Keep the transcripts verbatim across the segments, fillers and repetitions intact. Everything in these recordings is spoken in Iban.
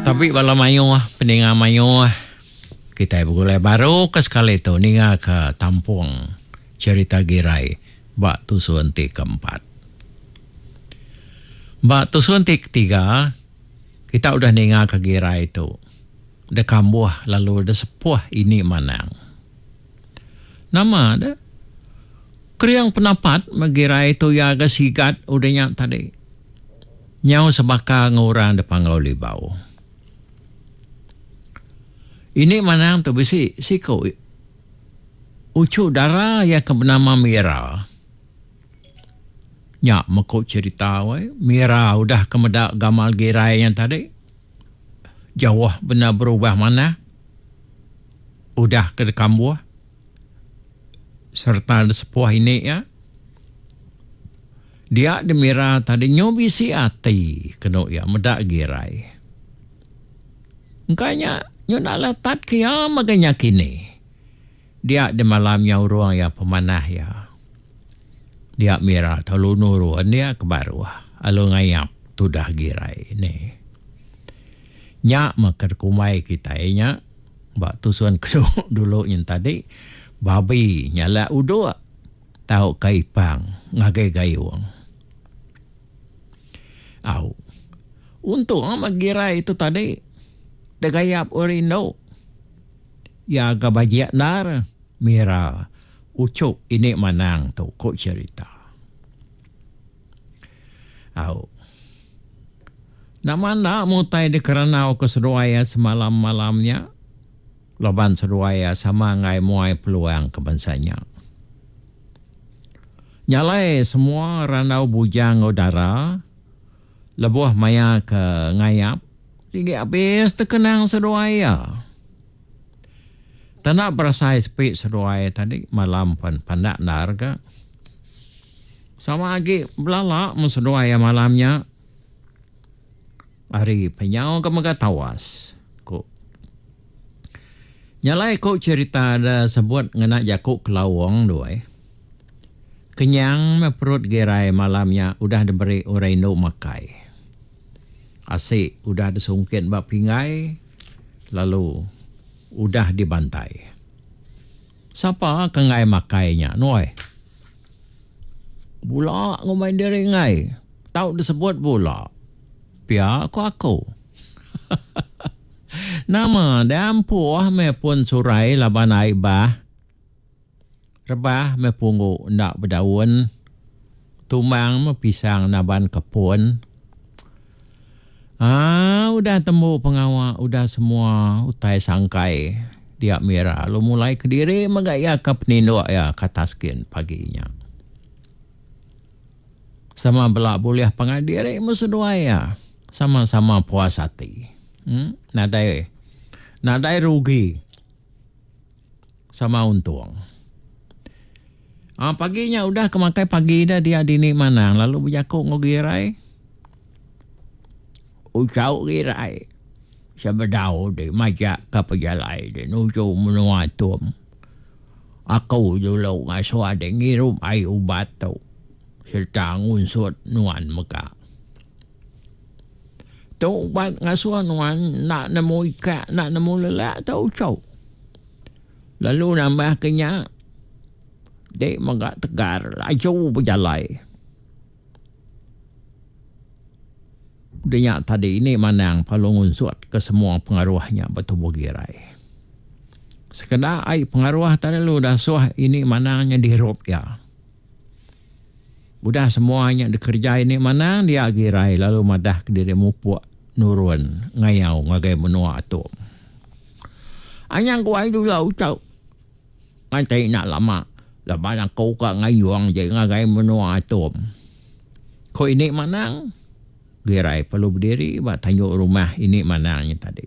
Tabi bala mayuh, peninga mayuh. Kitai begulai baru ke sekali tu ninga ke tampung cerita Girai ba tusun ti keempat. Ba tusun ti ketiga, kita udah ninga ke Girai tu dekambuh lalu desepuh ini manang. Nama de? Kering penapat meh Girai tu iya ga sigat udah nya tadi. Nyau sebaka enggau orang de Panggau Libau. Ini manang tu bisi siku uchu dara iya ke benama Mira. Nya meku cherita weh, Mira udah ke meda gamal Girai nya tadi. Jauh bendar berubah manah udah ke dikambuh sereta disepuh ini iya. Dia di Mira tadi nyu bisi ati kenu iya meda Girai. Engka nya nyu enda letat ke iya mega nya kini. Dia di malam nya urung iya pemanah iya. Dia Mira telu nurun iya ke baruh lalu ngayap tudah Girai ni. Nya meh ke dikumbai kitai nya ba tusun ke dulu nyin tadi babi nyalak uduk tauka ipang ngagai gayung. Au. Untung meh Girai tu tadi degayap orang indu. Iya ga bajik endar Mira uchu ini manang tu ku cherita. Au. Nama enda mutai dikeranau ke seduai iya semalam-malam nya laban seduai iya sama enggai muai peluang ke bansa nya. Nya alai semua randau bujang enggau dara lebuh maya ke ngayap sigi abis tekenang seduai iya. Tanda berasai sepi seduai tadi malam pen pandak endar ga. Sama agi belala mun seduai iya malam nya. Ari penyau ke mega tawas, ku. Nya alai ku cherita da sebut ngena jaku kelaung tu ai. Kenyang meh perut Girai malam nya udah diberi orang indu makai. Asi udah disungkit ba pinggai lalu udah dibantai. Sapa ke enggai makai nya nuai? Bula ngumbai diri enggai. Tau disebut bula. Pia ku aku. Nama deh ampuh meh pun surai laban ai bah. Rebah meh punggu enda bedaun. Tumbang meh pisang naban kepun. Aa udah tembu pengawa udah semua utai sangkai dia Mira lalu mulai kediri mega iya ke peninduk iya ke atas kin pagi nya. Sama bela bulih pangan diri meh seduai iya sama-sama puas ati. Em nadai nadai rugi sama untung. Aa pagi nya udah ke makai pagi ida dia dini manang lalu bejaku enggau Girai. Ucau Girai sebedau di majak ka pejalai di nuju menua Tum. Aku dulu ngasuh di ngirup ai ubat tu sereta ngunsut nuan mega. Tu ubat ngasuh nuan enda nemu ikak enda nemu lelak tu ucau. Lalu nambah ke nya Dek mega tegar laju bejalai. Udah nya tadi ini manang perlu ngunsut ke semua pengaruh nya ba tubuh Girai. Sekeda ai pengaruh tadi lalu dasuh ini manang nya dirup iya. Udah semua nya dikereja ini manang dia Girai lalu madah kediri mupuk nurun ngayau ngagai menua Atum. Anyang guai dulu tu. Nganti enda lama laban aku ka ngayung je ngagai menua Atum. Ku ini manang, Girai perlu bediri ba tanju rumah ini manang nya tadi.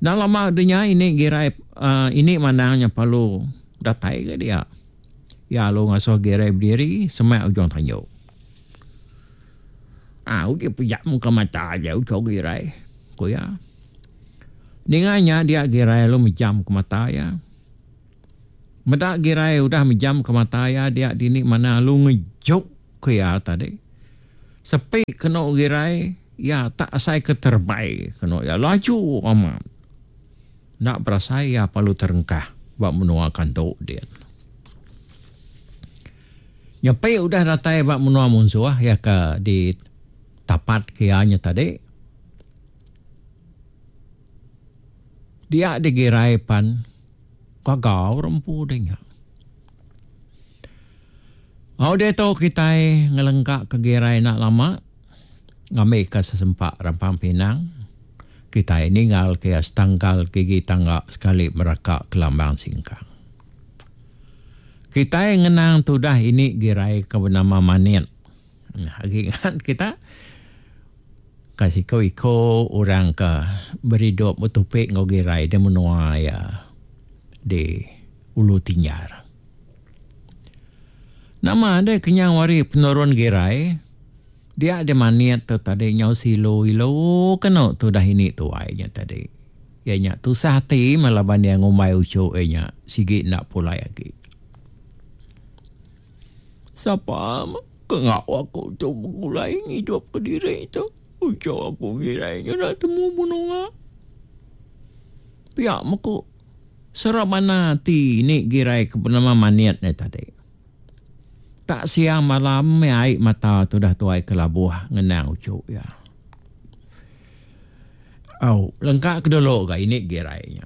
Enda lama udah nya ini Girai uhh ini manang nya perlu datai ga dia. Iya lalu ngasuh Girai bediri semak ujung tanju. Au uji pejam ka mata aja uchu Girai, ku iya. Ninga nya dia Girai lalu mejam ke mata iya. Meda Girai udah mejam ke mata iya dia dini manah lalu ngejuk ke iya tadi. Sepi kenu Girai Ya tak asai ke terbai kena ya laju amat. Nak berasai ya perlu terengkah bak menua kantuk dia. Nyepi udah datai bak menua munsuh ya ke di tapat kianya tadi. Dia digirai pan kagau rempu dia. Au dia tu kita ngelengkak ke girai nak lama ngambil ke sesempak rampang pinang. Kita ninggal ke setangkal gigi tangga sekali meraka kelambang singkang. Kita ngenang tudah ini girai ke bernama Manit. Nah, ingat kita kasih kau iko orang ke beridup bertupik ngau girai dia menua ya di Ulu Tinjar. Nama dia kenyang wari penurun girai. Dia ada maniat tu tadi nyau silo ilo kena tu dah ini tuainya tadi. Ya nya tusah hati malaban dia ngumbai ucuk nya sigi nak pulai lagi. Siapa kengak aku tu mulai hidup ke diri tu. Ucuk aku girainya nak temu bunuh. Pihak meku serabana hati ni girai ke bernama maniat ni tadi. Tak siang malam air mata tu dah tuai ke labuh ngenang ucuk ya. Au, lengkap ke dulu ga ini girainya.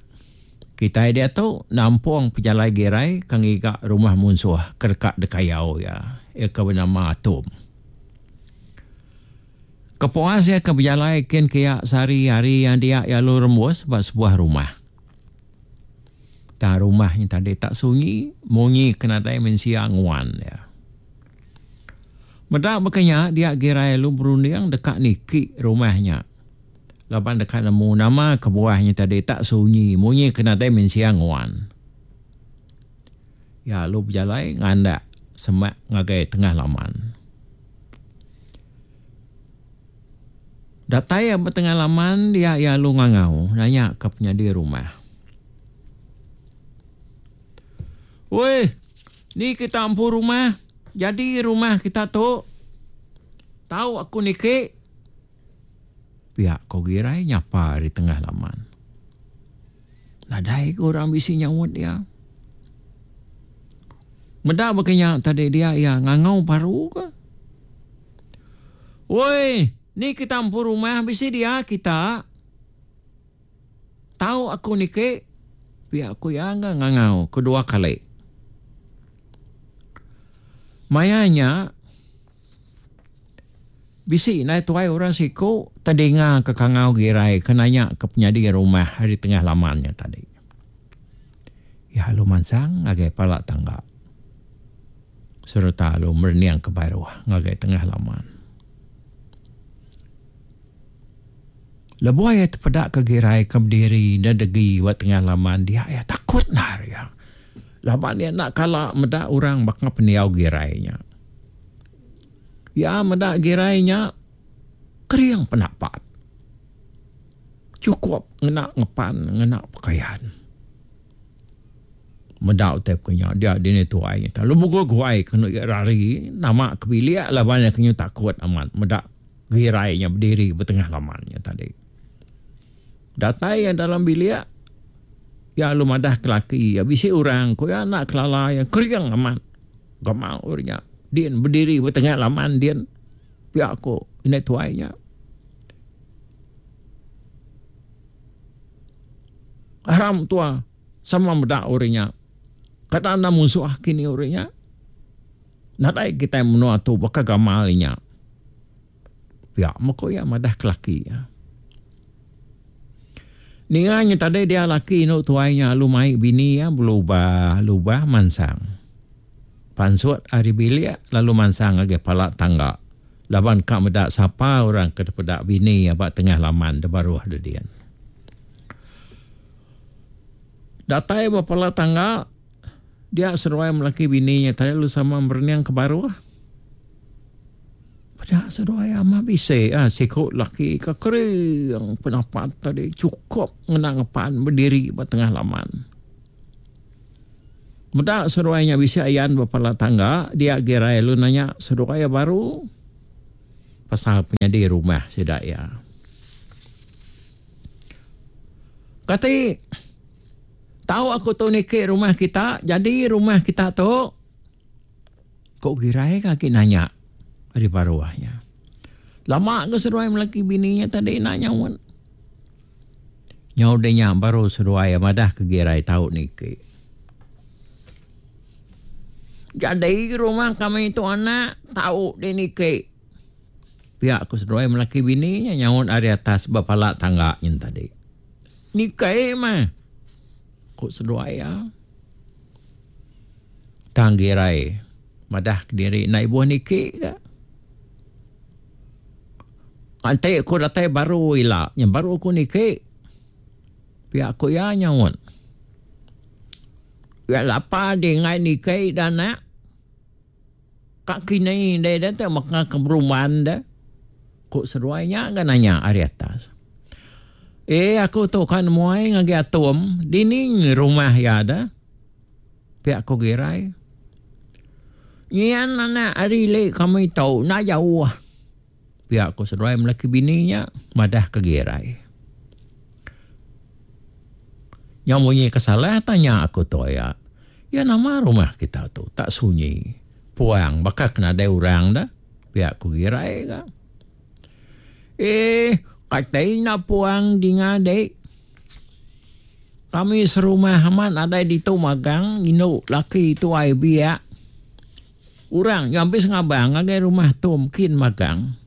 Kita dia tu nampung pejalai girai kang iga rumah munsuh kerkak dekayau ya. Ia ke bernama Atom. Kepuas ya ke berjalai kin kiak sehari-hari yang dia ya lu rembus buat sebuah rumah. Tak rumah yang tadi tak sunyi, munyi kena dai mensia nguan ya. Medak berkenya dia girai lu berunding dekat niki rumahnya. Lapan dekat nemu nama kebuahnya tadi tak sunyi, munyi kena dai mensia nguan. Ya lu berjalai ngandak semak ngagai tengah laman. Datai ya bertengah laman dia ya lu ngangau nanya ke penyadi rumah. Woi, ni kita ampu rumah. Jadi rumah kita tu tahu aku niki. Pihak kau girai nyapa di tengah laman. Nadai orang bisi nyawut dia. Medak berkenyak tadi dia ya ngangau baru ke. Woi, ni kita ampu rumah bisi dia kita. Tahu aku niki. Pihak aku yang ngangau kedua kali. Mayanya bisi naik tuai orang siku terdinga ke kangau girai kenanya ke penyadi rumah hari tengah lamannya tadi. Ya lu mansang ngagai palak tangga. Serta lu merniang ke baruh ngagai tengah laman. Lebuh ya terpedak ke girai ke berdiri dan degi buat tengah laman dia ya takut nar ya. Laban dia nak kalah medak orang bakal peniau girainya. Ya medak girainya kering pendapat. Cukup ngena ngepan, ngena pakaian. Medak tep kenya dia dini tuai. Lalu buku guai kena rari nama kebilik laban dia kena takut amat medak girainya berdiri bertengah lamannya tadi. Datai yang dalam bilik ya lu madah kelaki ya bisi orang ko ya nak kelala ya kering amat. Gamal orangnya. Din berdiri bertengah laman din. Pihak aku ini tuainya. Haram tua sama medak orangnya. Kata anda musuh kini orangnya. Nadai kita menua tu bakal gamalnya. Pihak mako ya madah kelaki ya. Ninganya tadi dia laki nuk tuainya lu mai bini ya berubah lubah mansang. Pansut hari bilik lalu mansang lagi palak tangga. Laban kak medak sapa orang ke pedak bini ya bak tengah laman de baruh de dia. Datai ba palak tangga dia seruai melaki bininya tadi lu sama berniang ke baruh. Pada seruai ama bise ah sikut laki ke kering pendapat tadi cukup ngena ngepan berdiri ba tengah laman. Medak seruainya bisi ayan bapala tangga dia gerai lu nanya seruai baru. pasal penyadi rumah sida iya. Kati tau aku tu niki rumah kita, jadi rumah kita tu? Ko Girai ke agi nanya ari baruh nya. Lama ke seduai melaki bini nya tadi enda nyaut. Nyau deh nya baru seduai madah ke Girai tau niki. Jadi rumah kami tu anak tau di niki. Pia ko seduai melaki bini nya nyaut ari atas ba pala tangga nyin tadi. Niki mah, ku seduai iya. Tang Girai madah kediri enda ibuh niki ga. Enti aku datai baru ila nya baru aku niki. Pia ku iya nyaut. Iya lapa di enggai niki da anak. Ka kini deh deh te meka ke berumban deh. Ku seduai nya ga nanya ari atas. Eh aku tu ka nemuai ngagai Atum dini rumah iya deh. Pia ku Girai. Nyian anak ari ili kami tu enda jauh. Pia ku seduai melaki bini nya madah ke Girai. Nyau munyi ke salah tanya aku tu aya. Ya nama rumah kita tu tak sunyi puang baka ke nadai orang dah. Pia ku Girai ga. Eh kati enda puang dinga dik. Kami serumah amat nadai ditu magang indu laki tuai biak. Orang nyau ambis ngabang ngagai rumah tu mungkin magang.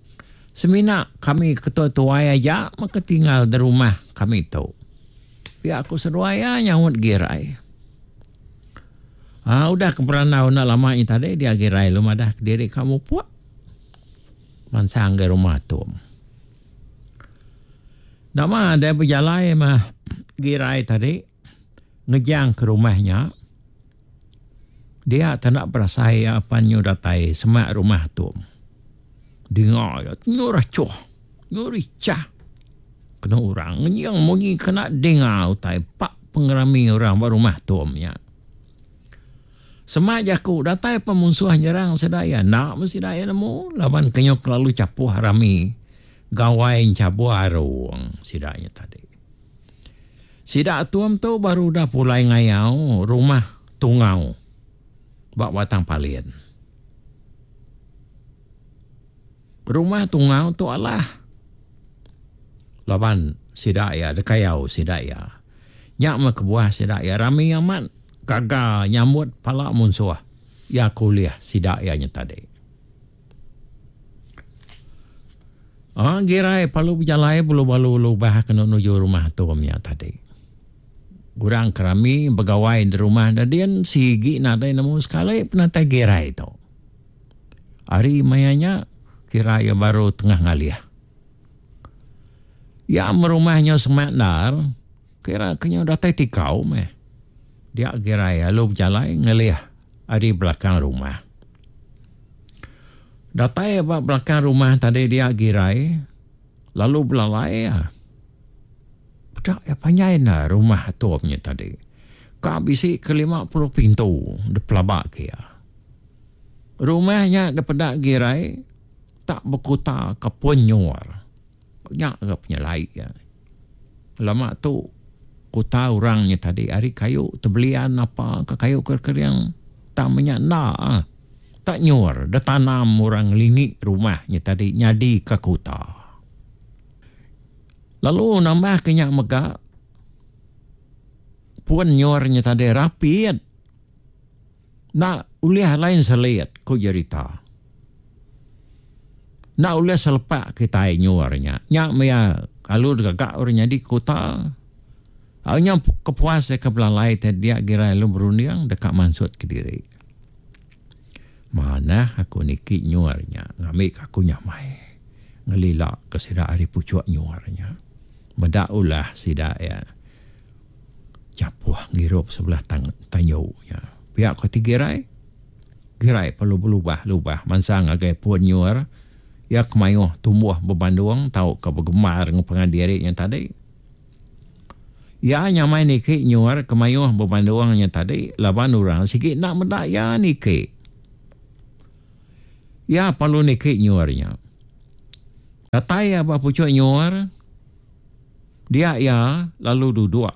Semina kami ketua tuai aja maka tinggal di rumah kami tu. Pia ku seduai iya nyaut Girai. Aa udah ke berandau enda lama nya tadi dia Girai lalu madah kediri ka mupuk mansang ngagai rumah tu. Nama deh bejalai mah Girai tadi ngejang ke rumah nya. Dia tak nak berasai apa nyu datai semak rumah tu. Dengar ya nyu racuh, nyu ricah. Kena orang ngenying munyi kena dengar utai pak pengerami orang ba rumah tu nya. Semak jaku datai pemunsuh nyerang sedaya nak mesti daya nemu laban kenyo kelalu capuh rami. Gawai enchabuh arung sida nya tadi. Sida Atum tu baru udah pulai ngayau rumah Tungau ba Batang Palin. Rumah Tungau tu alah laban sida iya dekayau sida iya. Nya meh kebuah sida iya rami amat gaga nyambut pala munsuh iya ke ulih sida iya nya tadi. Ah Girai perlu bejalai belu-balu lubah kena nuju rumah Atum nya tadi. Orang kerami begawai di rumah dadin sigi nadai nemu sekali penatai Girai tu. Hari maya nya kira iya baru tengah ngalih. Ya merumahnya semak ndar kira kenyo datai tikau meh. Dia Girai lalu bejalai ngelih ari belakang rumah. Datai ba belakang rumah tadi dia Girai lalu belalai ya. Pedak ya panjai na rumah Atum nya tadi. Ka bisi ke lima puluh pintu dipelaba ke iya. Rumahnya dipedak Girai tak berkuta ke pun nyur. Nya ke penyelai ya. Lama tu kuta orangnya tadi ari kayu tebelian apa ke kayu kering tak menyak nda. Tak nyur, dah tanam orang ngelingi rumahnya tadi nyadi ke kuta. Lalu nambah ke nyak mega pun nyurnya tadi rapit. Nak ulih lain selit ku jerita. Nak ulih selepak kita nyurnya. Nyak maya kalau gagak orang nyadi kuta. Nya kepuas ke belalai tadi dia Girai lu berunding dekat mansut ke diri. Mana aku niki nyuarnya ngambil aku nyamai ngelila ke sida ari pucuk nyuarnya. Medak ulah sida ya. Capuh ngirup sebelah tang tanyunya. Pihak ko ti Girai. Girai perlu berlubah-lubah mansang ngagai pun nyuar. Ya kemayuh tumbuh berbandung tau ke bergemar dengan pengadiri yang tadi. Ya nyamai niki nyuar kemayuh berbandung yang tadi laban orang sikit nak medak ya niki. Ya perlu niki nyuarnya. Datai iya ba puchuk nyuar, dia iya lalu duduk.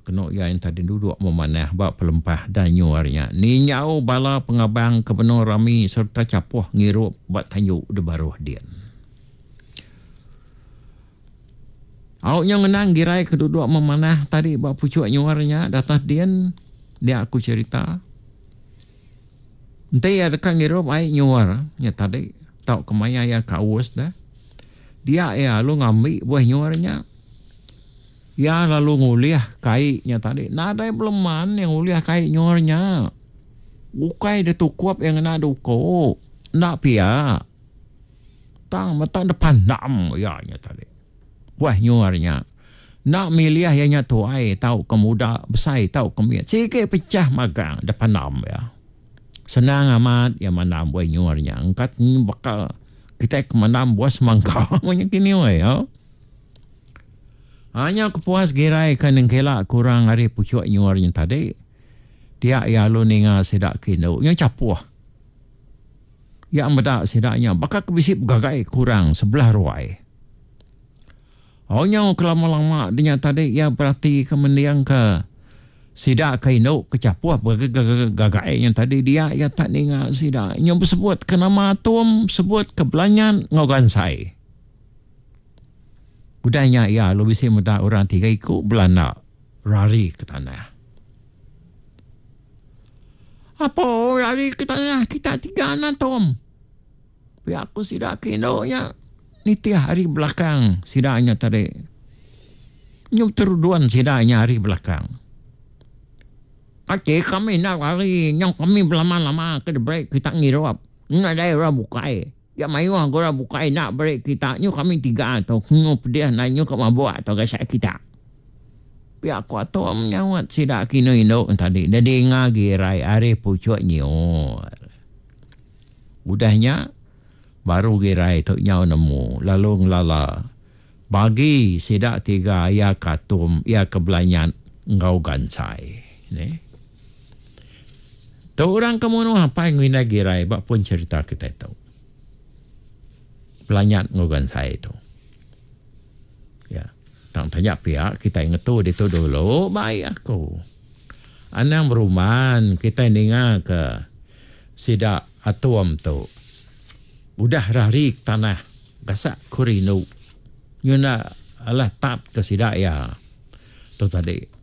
Kenu iya enti duduk memanah ba pelempah dan nyuar nya. Ninjau bala pengabang ke benung rami sereta chapuh ngirup ba tanju di baruh din. Au nya ngenang girai ke duduk memanah tadi ba puchuk nyuar nya datas din, dia aku cherita. Enti iya deka ngirup ai nyuar nya tadi tauka maya iya ke aus dah. Dia iya lalu ngambi buah nyuar nya. Iya lalu ngulih kai nya tadi. Nadai beleman iya ngulih kai nyuar nya. Ukai ditukup iya ngena duku. Enda pia. Tang meta depandam iya nya tadi. Buah nyuar nya. Enda milih iya nya tuai tauka muda, besai tauka mit. Sigi pechah magang depandam iya. Senang amat iya mandam buah nyuar nya. Engka baka kitai ke mandam buah semangka menya kini weh. Nya kepuas girai ke nengkila kurang ari puchuk nyuar nya tadi. Dia iya lalu ninga sida ke indu nya chapuh. Iya meda sida nya baka ke bisi begagai kurang sebelah ruai. Oh nyau kelama-lama dinya tadi iya berati ke mending ke sida ke indu ke chapuh begagai nya tadi dia iya tak ninga sida nya besebut ke nama atum sebut ke belanyan enggau gansai. Udah nya iya lalu bisi meda orang tiga iku belanda rari ke tanah. Apo rari ke tanah kita tiga anak Tom? Pia ku sida ke indu nya nitih ari belakang sida nya tadi. Nyu terudun sida nya ari belakang. Ati kami enda lari nyau kami belama-lama ke diberi kita ngirup. Nadai orang bukai. Ya mayuh orang bukai enda beri kita nyu kami tiga tu nyu pedih enda nyu ka mabuk tu gasak kita. Pia ku Atom nyaut sida ke indu-indu tadi dedinga girai ari puchuk nyiur. Udah nya baru girai tu nyau nemu lalu ngelala bagi sida tiga iya ke Atom iya ke Belanyat enggau Gansai. Neh. Tu orang ke munuh apai enggau indai girai ba pun cherita kitai tu. Belanyat enggau Gansai tu. Ya. Tang taja pia kitai ngetu ditu dulu bai aku. Anang beruman kitai ninga ke sida Atom tu. Udah rari ke tanah gasak ku rindu. Nyunda alah tap ke sida iya tu tadi.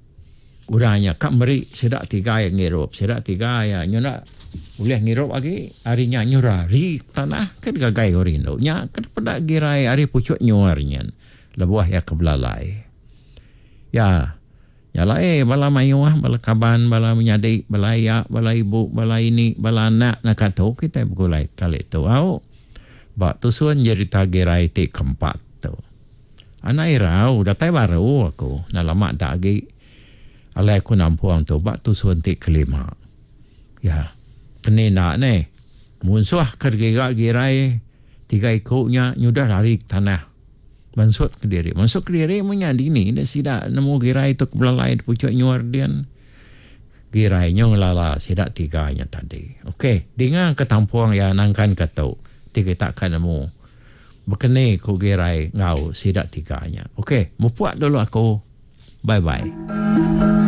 Orang nya ka meri sida tiga iya ngirup. Sida tiga iya nyunda ulih ngirup agi ari nya nyu rari tanah ke digagai orang indu. Nya ke dipeda girai ari puchuk nyuar nyin lebuh iya ke belalai. Ya, nya alai bala mayuh, bala kaban, bala menyadi, bala aya, bala ibu, bala ini, bala anak naka tu kitai begulai kali tu au ba tusun jerita girai ti keempat tu. Anak irau datai baru aku enda lama da agi. Alai aku nampung tu ba tusun ti kelima. Ya. Keni enda neh. Munsuh ke digiga girai tiga iku nya nyudah lari ke tanah. Mansut ke diri. Mansut ke diri meh nya dini enda sida nemu girai tu ke belalai di puchuk nyuar din. Girai nyu ngelala sida tiga nya tadi. Okey, dinga ke tampung iya nangkan ke tu ti kita ka nemu bekeni ku girai enggau sida tiga nya. Okey, mupuk dulu aku. Bye bye.